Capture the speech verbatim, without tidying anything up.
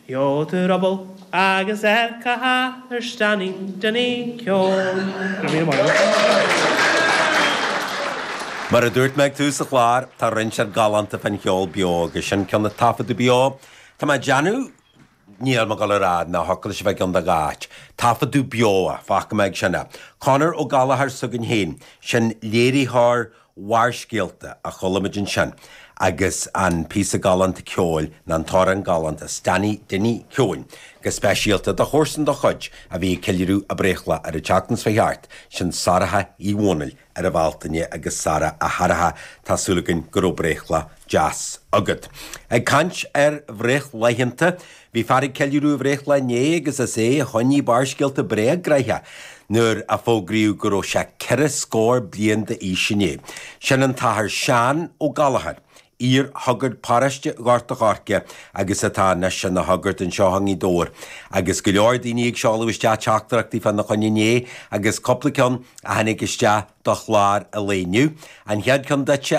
Gheobhaidh tú ruball agus ar cathair Standing Dinny Keown. Mar a dúirt mé ag tús an chláir, tá roinnt ar galánta fan cheol beo agus sin ceann a taifeadadh beo. Tá mé ag déanamh níl mé ag dul a rá nach thiocfadh leis a bheith i gceann de dhá áit. Taifeadadh beo é, fágfaidh mé ag sin é. Conor Ó Gallchóir s'againn féin, sin léiritheoir Bharrscéalta a chuala muid ansin agus an píosa galánta ceoil ná an t-amhrán galánta Stanny Dinny Keown go speisialta do chomharsan dá chuid a bhí ag ceiliúradh a breithlá ar an tseachtain seo thart, sin Sorcha Uí Dhónaill ar an Bhealtaine agus Sara a Shorcha, tá súil againn go raibh breithlá deas agat. Ag caint ar bhreithlaethanta, bhí fear ag ceiliúradh a bhreithlá inné agus is é a choinnigh Barrscéalta breá gnoitheach nuair a fógraíodh go raibh sé ceithre scór bliain d'aois inné. Sin an tAthair Seán Ó Gallchóir, iar-shagart paróiste Ghort a' Choirce agus atá anois ina shagart anseo i nGaoth Dobhair. Agus go leor daoine ag seoladh isteach teachtaireachtaí fána choinne inné agus cúpla ceann a tháinig isteach do chlár an lae inniu. An chéad cheann duitse